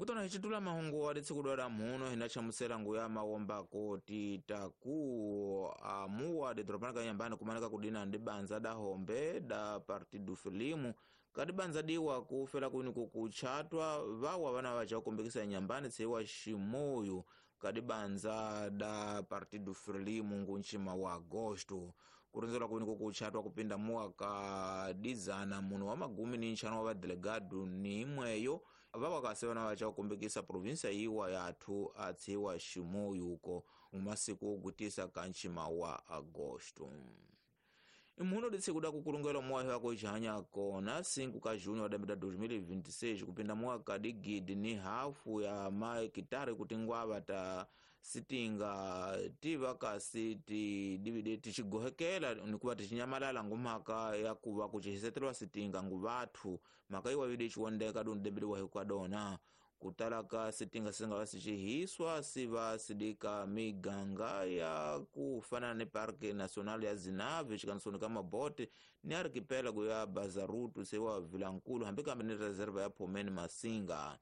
Kutona hi mahungu wa ditshikudwa la mhuno hinachamusela nguya mawombako titaku amuwa didropana kanyambani kumaneka kudina ndi banza da hombe da Partido Frelimo kadi banza diwa kufela kwini kukuchatwa vawa vana vacha kukumbikisa nyambani tsiwa Shimoyo kadi banza da Partido Frelimo ngunchima wa Agosto kurinzelwa kwini kukuchatwa kupinda muwaka dizana muno wa magumi ni nchano wa vadelegado ni imweyo vawa kasevana vacha kukumbikisa provinsia iwa yathu atsiwa Shimoyo uko mumasiku ogutisa kanchima wa Agosto. Imuno ditsikuda kukulungela mwahi wako ichihanya kona 5 ka junho wa 2026 kupinda mwaka digidi ni hafu ya maekitari kuti ngwava ta sitinga tiva kasi ti divide tichigohekela nikuva tichinyamalala ngumhaka ya kuva kuchihisetelwa sitinga nguvathu mhaka iwa vide ichiwondeka dunu debele wahi kwadona kutalaka sitinga singa sichihiswa siva sidika miganga ya kufanana ni Parque Nacional ya Zinave chikansoni kama bote ni archipelago ya Bazaruto sewa Vilankulu hambi kambe ni reserva ya Pomeni Masinga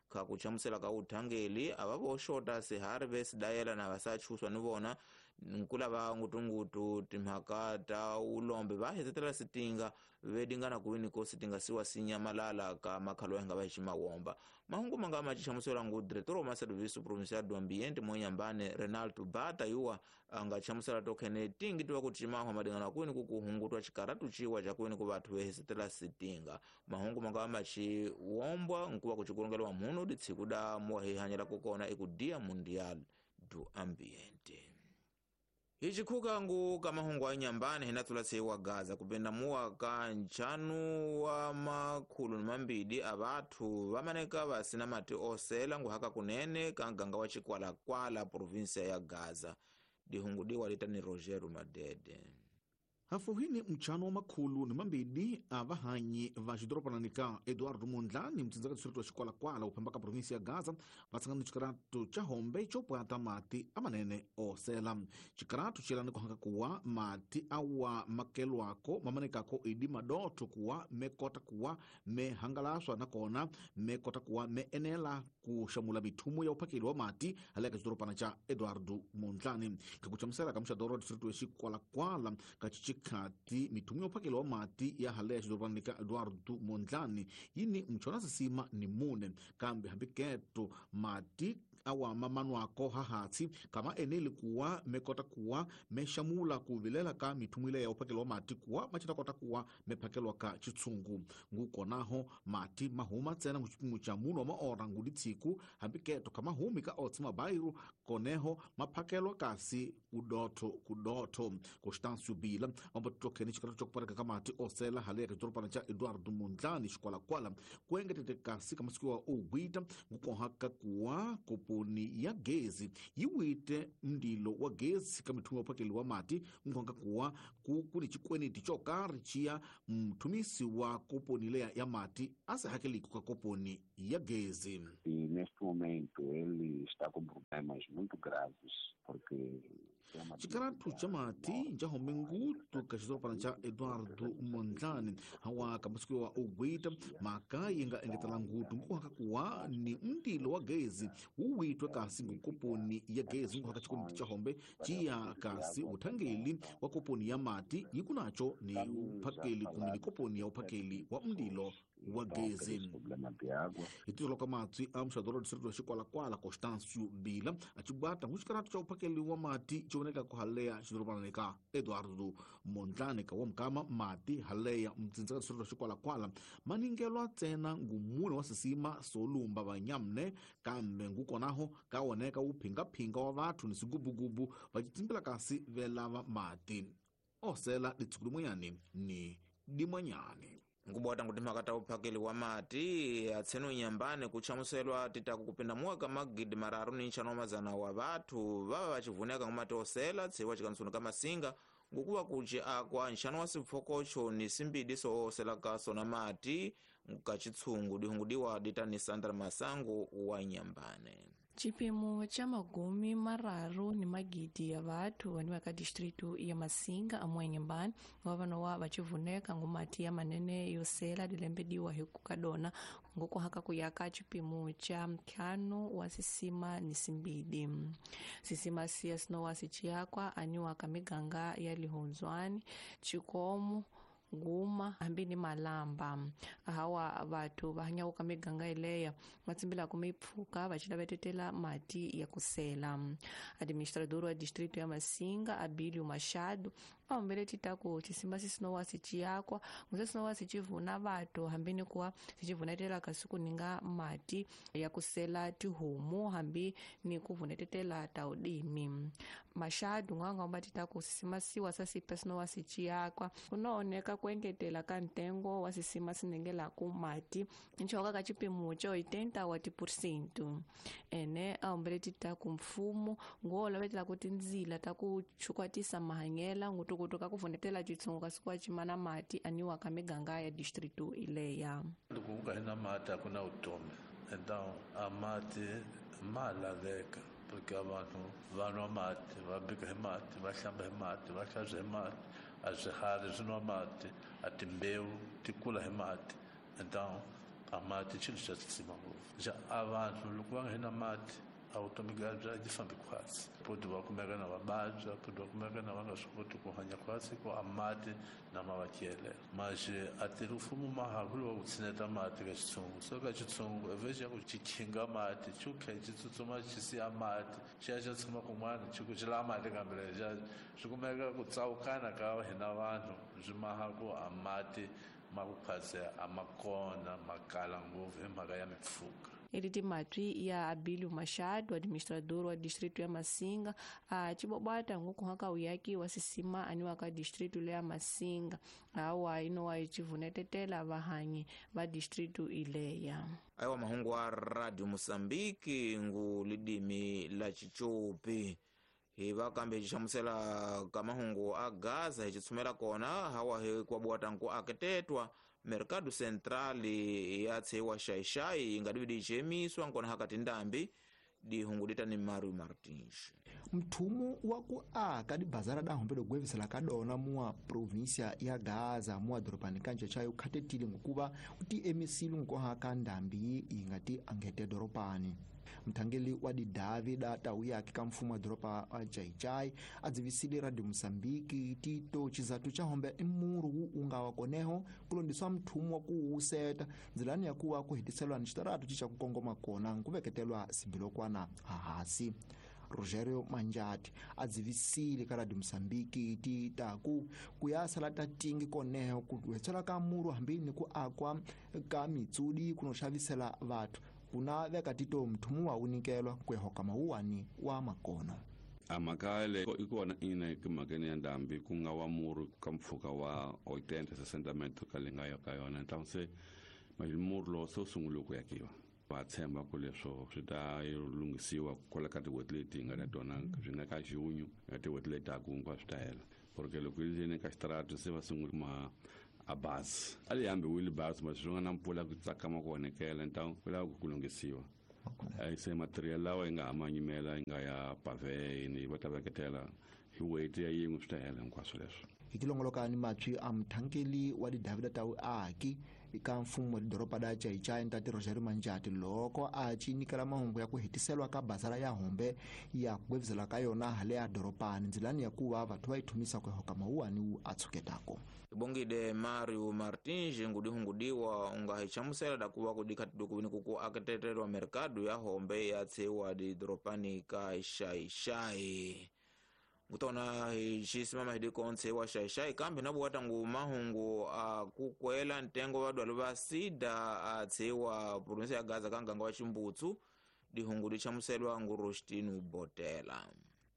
kakuchamusela ka uthangeli avavoxota sihari vesidayela na vasachuswa ni vona nkula va ngutungutu timhaka ta ulombe va hetetela sitinga vedingana kuwini ko sitinga siwa sinyamalala ka makhalo yanga va ximawomba mahungu manga machichamusela ngu diretor wa serviço provincial do ambiente monyambane Renaldo Bata yuwa anga chamusela tokhene tingi tiwa kuchimahwa madingana kuwini kukuhungutwa chikaratu chiwa cha kuwini ku vathu vehesetela sitinga mahungu manga machiwombwa nkuva kuchikulongela muno ditsikuda muwahihanyela kukona iku Dia Mundial do Ambiente. Ichikhuka ngu kamahungu anyambani hinatsula seiwa Gaza kupenda muwa ka nchanu wa makhulu ni mambidi avathu vamaneka vasina mati osela nguhaka kunene ka nganga wa Chikwalakwala provinsia ya Gaza. Dihungu diwa litani Rogero Madede. Hafuhini mchano wa makhulu ni mambidi avahanyi va xidoropanani Eduardo Mondlane mtsindzaka distrito wa Chikwalakwala uphambaka provinsia ya Gaza vatsangana chikaratu cha hombe chopwata mati amanene osela. Chikaratu chelani kuhanga kuwa mati awa makelwako mamanekako idi madoto kuwa mekota kuwa mehangalaswa nakona mekota kuwa meenela kuxamula mithumu ya uphakeli wa mati haleka xidoropana cha Eduardo Mondlane. Kakuchamusela ka muxadoro wa distrito wa Chikwalakwala kachichi khati mithumu ya uphakeli wa mati ya haleya xidoropanani ka Eduardo Mondlane yini mchona sisima ni mune kambe hambi keto mati awa mamanwako hahatsi kama eneli kuwa mekota kuwa mexamula kuvilela ka mithumu ile ya uphakeli wa mati kuwa machitakota kuwa mephakelwa ka chitsungu ngukonaho mati mahuma tsena nguchipimo cha muno wa maora ngudi tsiku hambi keto kamahumi ka otsi mabairu koneho maphakelwa kasi kudotho kudotho. Constâncio Bila ambatokhene chikaratu chokupareka kamati osela haleka xidoropana cha Eduardo Mondlane Xikwalakwala kuengetete kasi kamasiku wa ugwita ngukohaka kuwa koponi ya gezi yiwite mndilo wa gezi ka mithumu ya uphakeli wa mati ngukohaka kuwa kuni chikweneti chokari chiya mthumisi wa koponi leya ya mati asehakeliko ka koponi ya gezi. E neste momento ele está com problemas muito graves porque chikaratu cha mati njahombe ngutu ka xidoropana cha Eduardo Mondlane hawa kamasiku wa ugwita maka yinga engetela ngutu nguhaka kuwa ni mndilo wa gezi wuwitwe kasi ngukoponi ya gezi nguhaka chikomiti cha hombe chiya kasi uthangeli wa koponi ya mati yikunacho ni uphakeli kumbe ni koponi ya uphakeli wa mndilo wa gezi. Hitizolo ka matsi a muxadoro wa distrito wa Xikwalakwala Constâncio Bila achibwata nguxikaratu cha uphakeli wa mati chioneka kuhaleya xidoropanani ka Eduardo Mondlane ka wa mukama mati haleya mtsindzaka distrito wa Xikwalakwala maningelwa tsena ngumune wa sisima solumba vanyamne kambe ngukonaho kawoneka wuphingaphinga wa vathu ni sigubugubu vachitsimbila kasi velava mati osela ditshuku limwenyani ni dimwanyani. Nkubwata kuti makata uphakeli wa mati atseno nyambani kuchamuselwa titaku kupinda muwaka magidi mararu ni nchano mazana wa vathu vava vachivuneka ngumati osela tsiwa chikansoni ka Masinga ngukuva kuchi akwa nxano wa sipfokocho ni simbidi soosela kaso na mati kachitsungu dihungudiwa ditani Sandra Masango wa Nyambane. Chipimo cha magumi mararu ni magidi ya vathu vaniwa ka distritu ya Masinga amwenyembani vavanowa vachivuneka ngumati ya manene yosela dilembediwa hiku kadona ngokuhaka kuyaka chipimo cha mkhano wa sisima ni simbidi sisima siya sinowa sichiyakwa aniwa ka miganga ya lihonzwani chikomo guma hambi ni malamba hawa vathu va hanyaka miganga ileya va tsimbilaka mipfhuka va cila vetetela mati ya kusela. Administrador wa distrito ya Masinga Abilio Machado a humbele titaku cisima sisinowa siciyakwa nguse sinowa sicivuna vathu hambi ni kuwa sicivunetela kasi kuninga mati ya kusela tihomu hambi ni kuvunetetela ta udimi. Machado ngangamba titaku sisima siwa sasipa sinowa siciyakwa kunooneka kuengetela ka ntengo wa sisima sinengelaku mati nchoka ka chipimo cha 80% ene a humbele titaku mfumo ngoolavetela ku tindzila ta ku chukwatisa mahanyela ngutukutu ka kuvunetela chitsungu kasi kuwa chimana mati aniwa ka miganga ya distrito ileya. Loko ku nga ri na mati a ku na vutomi, então a mati ma laveka porque vanhu va nwa mati, va bika hi mati, va hlamba hi mati, va hlantswa hi mati, a swiharhi swi nwa mati, a timbewu ti kula hi mati. Então a mati xilo xa xixima ngopfu. Xa a vanhu loko va nga ri na mati a vutomi bya byi fambi khwatsi, poti va kumeka na va vabya, poti va kumeka na va nga swi koti ku hanya khwatsi ku a mati na ma va tyelela. Maxe a tirhi mfumo ma ha ku lava ku tshineta mati ka xitshungu, so ka xitshungu evhe xa ku xi khinga mati xi ku khe xi tsutsuma xi siya mati xi ya xa tshama kun'wana xi ku xi lava mati kambe lexa swi kumeka ku tsawukana ka hina vanhu swi maha ku a mati ma ku khwatsi a ma kona ma kala ngopfu hi mhaka ya mipfhuka. Eliti matwi ya Abilio Machado, administrador wa distrito ya Masinga, a chibobata ngukuhaka uyaki wa sisima aniwa ka distrito ya Masinga awa inowa ichivunetetela vahanyi va distrito ileya. Aiwa mahungu wa Radio Mosambiki ngu lidimi la Chichopi hi va kambe hi xihlamusela ka mahungu a Gaza hi xitshumela kona hawa hi kwabuwata nku aketetwa Mercado Central ya tshewa xaixai yi nga divi dicemiswa nkona hakati ndambi dihungudita ni Mario Martins. Mthumu wa ku aka dibazara da hombe dogwevisela ka dona mua província ya Gaza mua doropani kanja chayo khatetile ngokuva uti emisile nkohaka ndambi yi nga ti angete doropani. Mthangeli wa didavi da tau yake ka mfumo wa doropa wa Chaichai a dzivisile Radio Mosambiki tito chizatu cha hombe i muru wu unga wa koneho kulondiswa mthumu wa ku wuseta ndzilani ya kuwa ku hetiselwa ni xitaratu ci xa ku kongoma kona ku veketelwa simbilokwana hahasi. Rogerio Manjati a dzivisile ka Radio Mosambiki ti taku ku ya sala ta tingi koneho ku hetsela ka muru hambi ni ku akwa ka mitsudi kuno xavisela vathu kuna veka tito mthumu wa unikelwa kuehoka mawuwani wa makono. A mhaka leyi i kona ina mhakeni ya ndhambi ku nga wa muru ka mpfhuka wa 80 60 metro ka le nga ya ka yona, então se muru lowu se wu sungule ku yakiwa. Va tshemba ku leswo swi ta lunghisiwa kwala ka tin'hweti leti hi nga na tona swi nga ka junho na tin'hweti leti taku hinkwaswo swi ta hela, porque loko yi ri ka xitarata se va sungule ma a bazi a li hambiwile bazi ma swi nga na mpfula ku tsakama ku onhekela, então ku lava ku lunghisiwa. Se material lawa yi nga ha ma nyimela yi nga ya pave ni va ta veketela hi weight ya yin'we swi ta hela hinkwaswo leswo. Hi tilongoloka ni matwi a mthangeli wa didavida ta uaki ka mfumo wa doroba da Chaichai ntate Rogerio Manjati loko a ci nyikela mahungu ya ku hetiselwa ka bazara ya hombe ya ku ka yona hale ya doropani ndzilani ya kuva vathu va yi thumisa ku hoka mawuwani wu a tshuketako. Ibongide Mario Martins ngudihungudiwa unga hi hlamusela da kuva kudikhatidukuwini kuku aketetelwa mercado ya hombe ya tshewa didoropani ka Xaixai. Ngutona hi xisimama hi dikontshe wa Xaixai kambe na buwata ngu mahungu a kukwela ntengo wa dwalo va sida a tshewa provinsi ya Gaza ka nganga wa Ximbutsu dihungu di hlamuselwa ngu Rostino Botela.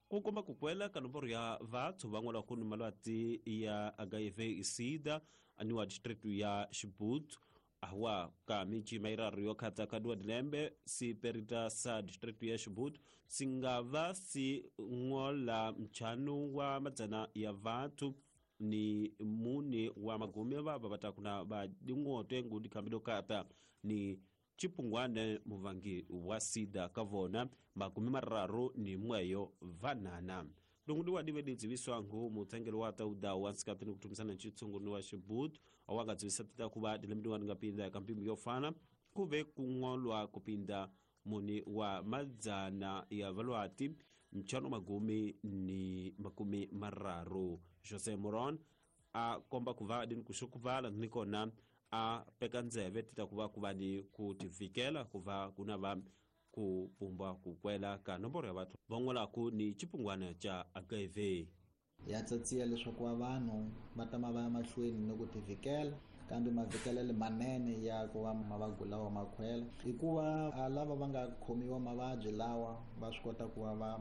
Ku komba ku kwela ka nomboro ya vathu van'wana ku ni malwati ya HIV sida aniwa district ya Xibutsu awa ka miji mairaru yo khatsa ka dua dilembe si perita sa district ya Xibutsu singava si ngola mchanu wa madzana ya vathu ni mune wa magume va va takuna va dingote ngudi kambido kata ni Chipungwane muvangi wa sida kavona 31 vanana. Lungundi wa dive didziviswangu mutsengelo wa tauda wa nsikatini kutumisana chitsungu wa Xibut awangadzivisa tita kuva dilembe wa ngapinda kampimbi yofana kuve kungolwa kupinda muni wa madzana ya valwati mchano 30. Jose Moron a komba kuva dini kushukuvala nikona a peka ndzeve tita kuva kuva ni kutivikela kuva kuna va kupumba kukwela ka nomboro ya vathu van'walaku ni chipungwana cha HIV. Ya tsatsiya leswaku va vanhu va tama va ya mahlweni ni ku tivikela, kambe mavikelelo manene ya ku va mavabyi lawa makhwela i ku va lava va nga khomiwa mavabyi lawa va swi kota ku va va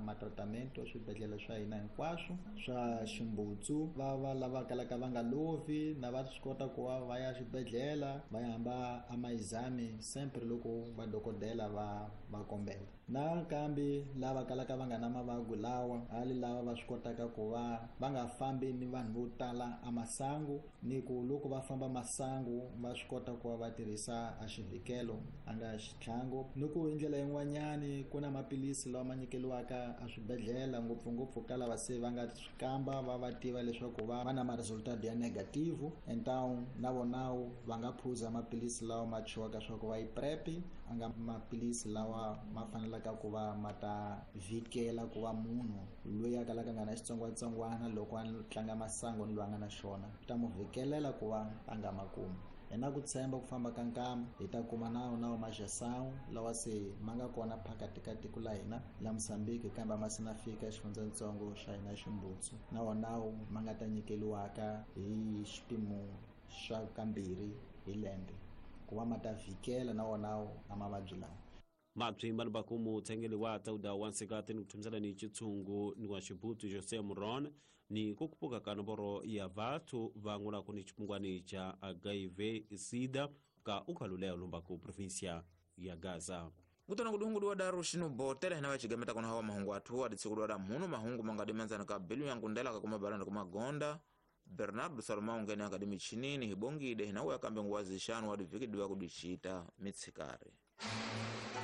ma-tratament swibedhlele swa hina hinkwaswo swa Ximbutsu, va va lava kalaka va nga lovi na va swi kota ku va va ya xibedhlele va ya hamba a maizami sempre loko vadokodela va kombela. Nakambe lava kalaka va nga na mavabyi lawa hali lava va swi kotaka ku va va nga fambi ni vanhu vo tala a masangu, ni ku loko va famba masangu va swi kota ku va va tirhisa a xivikelo a nga xitlhangu. Ni ku hi ndlela yin'wanyani ku na maphilisi lawa ma nyikeliwaka a swibedhlele ngopfungopfu ka lava se va nga swi kamba va va tiva leswaku va na ma-resultat ya negative, então na vona va nga phuza maphilisi lawa ma chiwaka swa ku va yi PrEP, a nga maphilisi lawa ma fanelaka ku va ma ta vikela ku va munhu loyi a kalaka nga na xitsongwatsongwana loko a tlanga masangu ni loyi a nga na xona ta mu vikelela ku va a nga makumi. Hi na ku tshemba ku famba ka nkama hi ta kuma nawu majasawu lawa se ma nga kona phakati ka tiko la hina la Mozambique, kambe ma se na fika xifundzatsongo xa hina Ximbutsu, na wonawu ma nga ta nyikeliwaka hi xipimo xa kambirhi hi lembe ku va ma ta vikela na wonawu a mavabyi lawa. Mabyi malubaku mutsengeli wa tauda wa nsikati ni kuthumisana ni chitsungu ni wa Xibutu Jose Moron ni kukupuka ka nomboro ya vathu van'walaku ni chipungwani cha HIV sida ka ukhaluleo lumbaku provinsia ya Gaza. Kutana kudungu wa daru shinu botele hina wachigameta kuna hawa mahungu atu adi siku dwada mhunu mahungu mangadi manzana ka bilu yangu ndela kakuma balanda kuma gonda Bernardo Salomão ngene akadimi chinini hibongide hina uya kambe nguwazi shanu wadi viki diwa kudichita mitsikari.